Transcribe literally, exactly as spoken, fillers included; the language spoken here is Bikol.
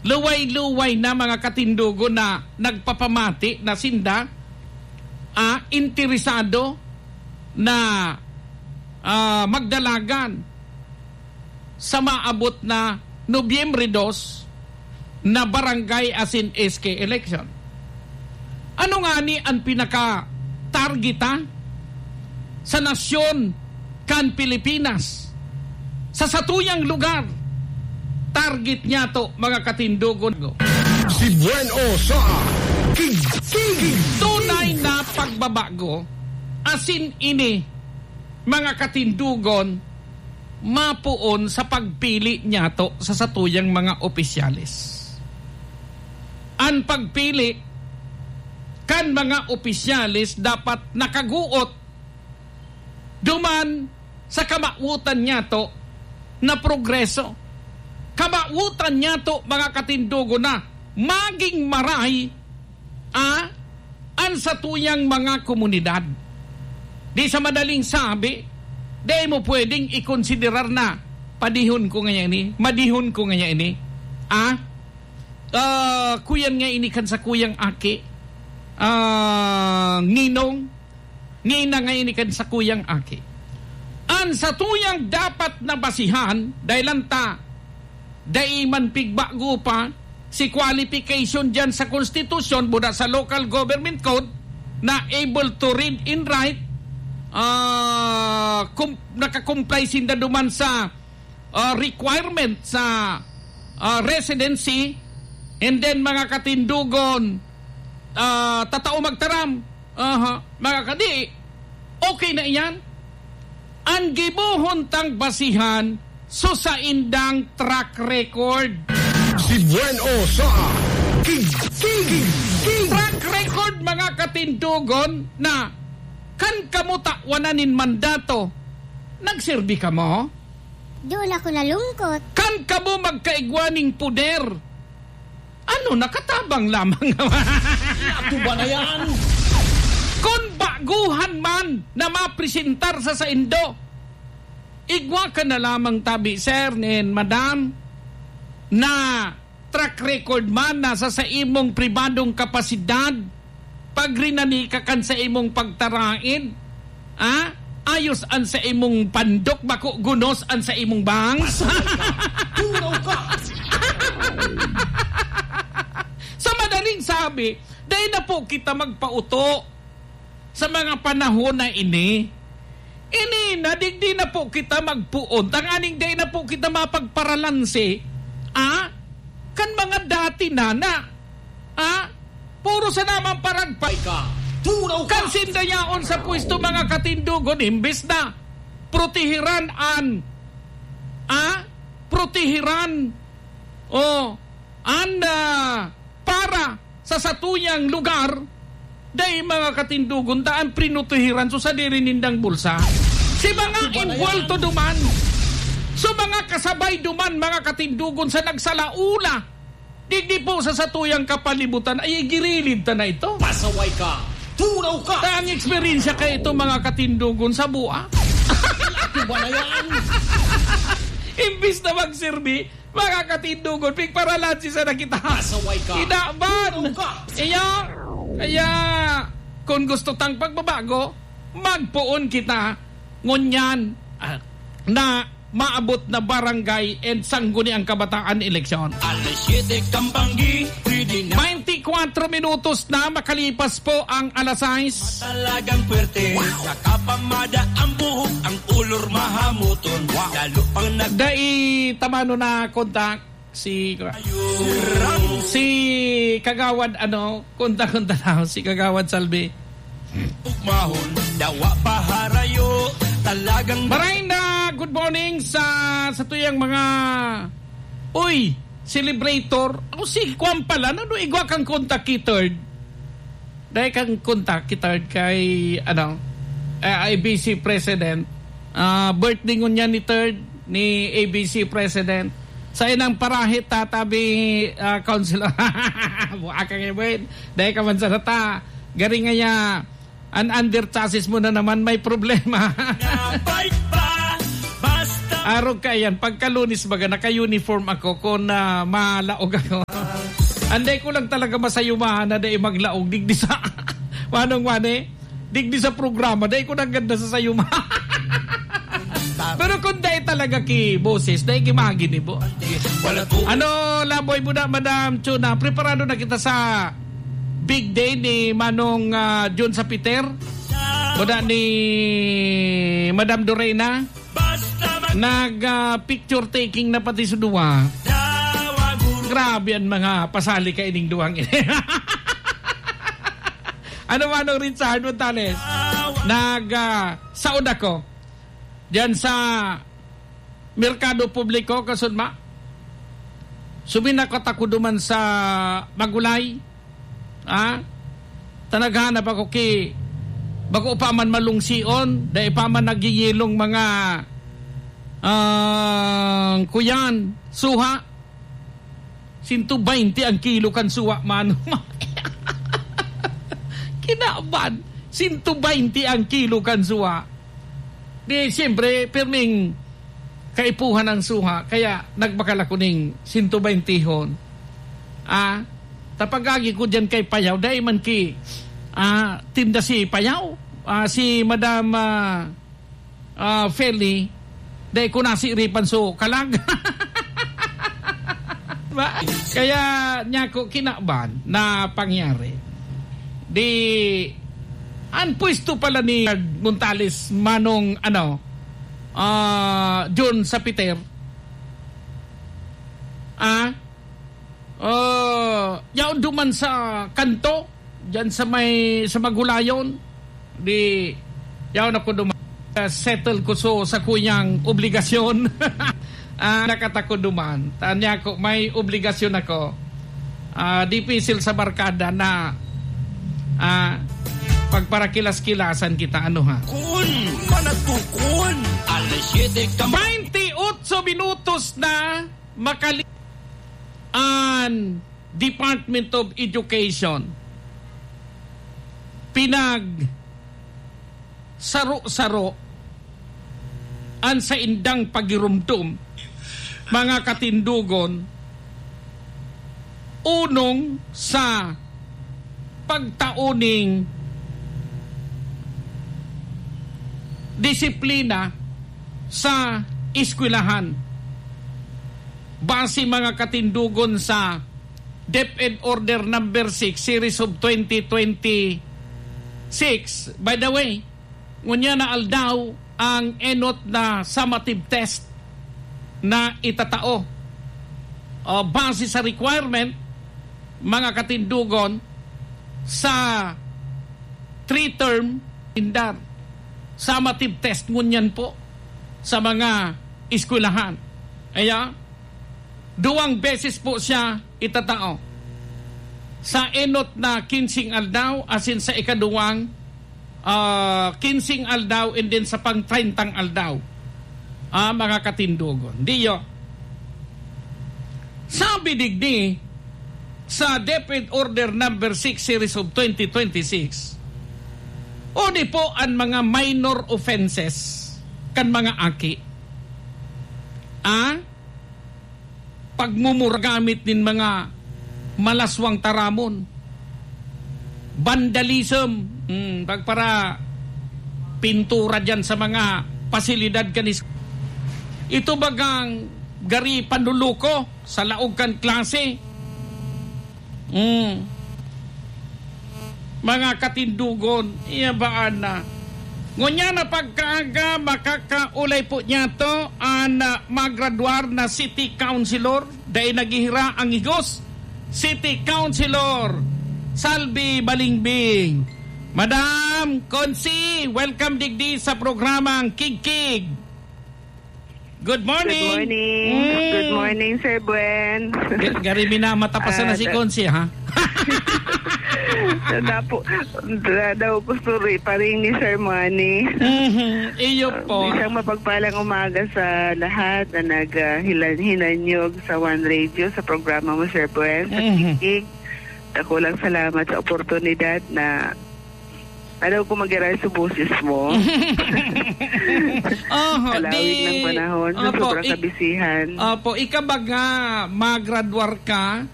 Luway-luway na, mga katindogon, na nagpapamati na sinda, ah, interesado na, ah, magdalagan sa maabot na Nobyembre dos na barangay asin S K election. Ano ngani an pinaka-targeta sa nasyon kan Pilipinas? Sa satuyang lugar, target niyato, mga katindogon. Si Buen O sa King, King. Tunay na pagbabago, asin ini, mga katindogon, mapoon sa pagpili niyato sa satuyang mga opisyales. An pagpili kan mga opisyales dapat nakaguot duman sa kamawotan niyato na progreso. Kamawotan niyato, mga katindogon, na maging maray, ah, an satuyang mga komunidad. Di sa madaling sabi, dai mo pwedeng ikonsiderar na, "Padihon ko ngaya ini, madihon ko ngaya ini." Ah? Ah, kuyan nga ini kan sakuyang aki. Ah, ninong, nina nga ini kan sakuyang aki. An satuyang dapat na basihan, dai lang ta dai man pigbago pa si qualification diyan sa konstitusyon, buda sa local government code, na able to read and write, ah, kum-, nakakomply sinda duman sa, ah, requirement sa, ah, residency, and then, mga katindogon, ah, tatao magtaram. Aha, mga kadi, okay na iyan. An gibohon tang basihan, so saindang track record. Si Buen O sa King, King, King. Track record, mga katindogon, na kan kamo tawan nin mandato, nagserbi kamo? Doon ako nalungkot. Kan kamo magkaigwa ning poder, ano, nakatabang lamang? Ano ba na yan? Kun baguhan man na mapresentar sa saindo, igwa ka na lamang tabi, sir, nin madam, na track record man na sa saimong pribadong kapasidad, pagrinani ka kan saimong pagtarain, ah? Ayos an saimong pandok, bako gunos an saimong bangs. Turaw ka! Sa madaling sabi, dai na po kita magpauto sa mga panahon na ini. Ini na, digdi na po kita magpoon, tanganing dai na po kita mapagparalanse, ah, kan mga dati na, na, ah, puro sa naman paragpay ka. Turaw ka! Kan sinda yaon sa pwesto, mga katindogon, imbes na protehiran an, ah, protehiran, o, an, ah, para sa satuyang lugar, dai, mga katindogon, ta an prinotehiran so sadiri nindang bulsa. Si mga Ano ba na yan? Involto duman, so mga kasabay duman, mga katindogon, sa nagsalaula digdi po sa satuyang kapalibutan, ay girilid ta na ito. Pasaway ka! Turaw ka! Ta ang eksperyensya kay ito, mga katindogon, sa bua. Ano ba na yan? Imbis na magserbi, mga katindogon, pigparalanse sana kita. Pasaway ka. Inaban. Turaw ka. Iya, kaya, kung gusto tang pagbabago, magpoon kita ngunyan, ah, na maabot na barangay and sangguniang kabataan eleksyon. Alas siyete kang banggi, pwede na. Twenty-four minutos na makalipas po ang alas sais. Talagang pwerte, nakapamada ang buhok, ang ulor mahamuton. Lalo pang nag- Dai tamano na kontak si, si Kagawad, ano, kontak-kontak na si Kagawad Salvi. Ugmahon, dawa pa harayo, talagang Maray na good morning sa, sa tuyang mga, uy, celebrator. Ako si Kwan pala, ano, igwa kang kontak ki Third? Dai kang kontak ki Third kay, ano, eh, A B C President. Ah, birthday ngunyan ni Third, ni A B C President. Sa inang parahit, tatabi, ah, Councilor. Buha ka ngayon, Buen. Dai ka man sa data. Garing ngaya, an under chassis mo na naman may problema. Napay pa, basta Arog kaiyan, pagka Lunes baga, naka-uniform ako kun, ah, malaog ako. Anday ko lang talaga masayumahan na dai maglaog, digdi sa, Manong Manny, digdi sa programa, dai ko nanggad nasasayumahan. Pero kung dai talaga ki boses, dai ki maginibo. Ano, laboy mo na, Madam Chona? Preparado na kita sa big day ni Manong, ah, Jun sa Peter? Boda ni Madam Dorena? Nag, ah, picture taking na pati sa duwa. Grabe ang mga pasali kaining duwang ini. Ano, Manong Richard Montales? Nag, ah, saod ako diyan sa Merkado Publiko, kasunma. Suminakot ako duman sa Magulay. Ha? Tanaghanap ako ki, bako pa man malungsion, dai pa man nagyeyelong mga, ah, kuyan, suha. Sento baynte ang kilo kan suha, mano. Kinaban, sento baynte ang kilo kan suha. Di, siyempre, pirming kaipuhan ang suha, kaya nagbakal ako ning sento baynte hon. Ah, tapagagi ko diyan kay Payaw, dai man ki, ah, tinda si Payaw, ah, si Madam, ah, ah, Feli, dai ko nasiripan so kalag. Ba? Kaya niya ko kinaban na pangyari. Di, ang pwesto pala ni Montales, Manong, ano, ah, Jun sa Peter. Ah? Oh, yaon duman sa kanto, diyan sa may, sa Magulayon. Di, yaon ako duman. Ah, settle ko so, sa kuyang obligasyon. Ah, nakatako duman. Tanya ko, may obligasyon ako. Ah, dipisil sa barkada na, ah, pagparakilas-kilasan kita, ano ha? Kun, managtukon! Alas siyete ka ma- Baynte otso minutos na makali-, an Department of Education pinagsaro-saro an saindang pagiromdom, mga katindogon, onong sa pagtao ning disiplina sa eskwelahan. Base, mga katindogon, sa DepEd Order Number Six, Series of twenty twenty-six. By the way, ngunyan na aldaw ang enot na summative test na itatao. O, base sa requirement, mga katindogon, sa three-term indar, summative test ngunyan po sa mga eskwelahan. Kaya, duwang beses po siya itatao. Sa enot na kinseng aldaw, asin sa ikaduwang, ah, kinseng aldaw, and then sa pang treyntang aldaw, ah, mga katindogon. Diyo, sabi digdi sa DepEd Order Number Six, Series of twenty twenty-six, o di po an mga minor offenses kan mga aki. Ah? Pagmumura gamit nin mga malaswang taramon. Vandalism, hmm, pagpara pintura diyan sa mga pasilidad kanis-, ito bagang gari panluluko sa laog kan klase. Hmm. Mga katindogon, iya baan na? Ngunyan na pagkaaga, makakaulay po niyato an, ah, magradwar na city councilor, dai naghihira ang higos, City Councilor Salvi Balingbing. Madam Consi, welcome digdi sa programang Kigkig. Good morning. Good morning. Mm. Good morning, Sir Buen. Ga-, gari minamata pa sana Ah, si da- Consi, ha? Dapo, da-, daw gusto ri-, pa rin ni Sir Manny. Mhm. Iyo Ah, po. Isang mapagpalang umaga sa lahat na nag, ah, hilan-, hinanyog sa One Radio, sa programa mo, Sir Buen, sa Mhm. Kikig. Dakulang salamat sa oportunidad na Ayaw ko mag-aray sa boses mo. Oho, Kalawig di- ng panahon sa Opo, sobrang ik- kabisihan. Opo, ikabaga, magradwar ka,